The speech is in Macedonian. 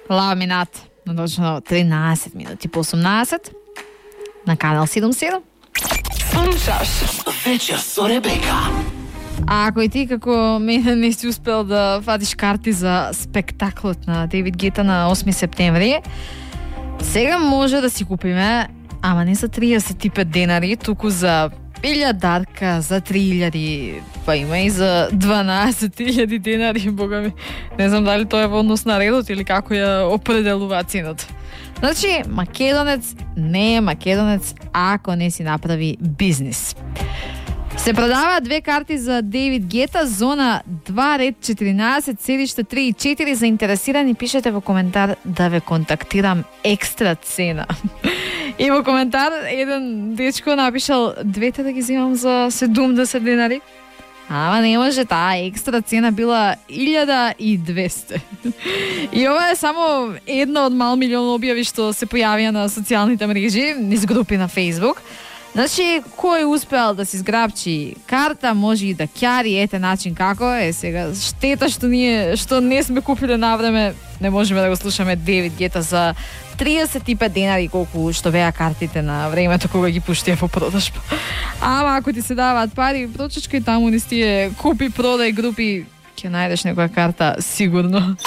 Ламинат на точно 13 минути по 18 на канал 77. Слушаш Вечер со Ребека. А ако и ти како мене не си успел да фатиш карти за спектаклот на Дейвид Гета на 8 септември, сега може да си купиме, ама не за 35 денари, туку за 1000 дарка, за 3000, па има и за 12.000 денари, бога ми. Не знам дали тоа е во однос на редот или како ја определува цената. Значи, македонец не е македонец ако не си направи бизнис. Се продаваат 2 карти за Дейвид Гета, зона 2, ред 14, седишта 3 и 4. Заинтересирани пишете во коментар да ве контактирам екстра цена. И во коментар еден дечко напишал 2 да ги земам за 70 денари. Ама не може, таа екстра цена била 1200. И ова е само една од мал милион објави што се појавија на социјалните мрежи, низ групи на Facebook. Значи, кој успеал да си зграбчи карта, може и да ќари, ете начин како е. Сега, штета што не сме купиле на време, не можеме да го слушаме Дейвид Гета за 35 денари, колку што беа картите на времето кога ги пуштија во продажба. Ама ако ти се даваат пари, прочечкај таму низ тие купи, продај групи, ќе најдеш некоја карта сигурно.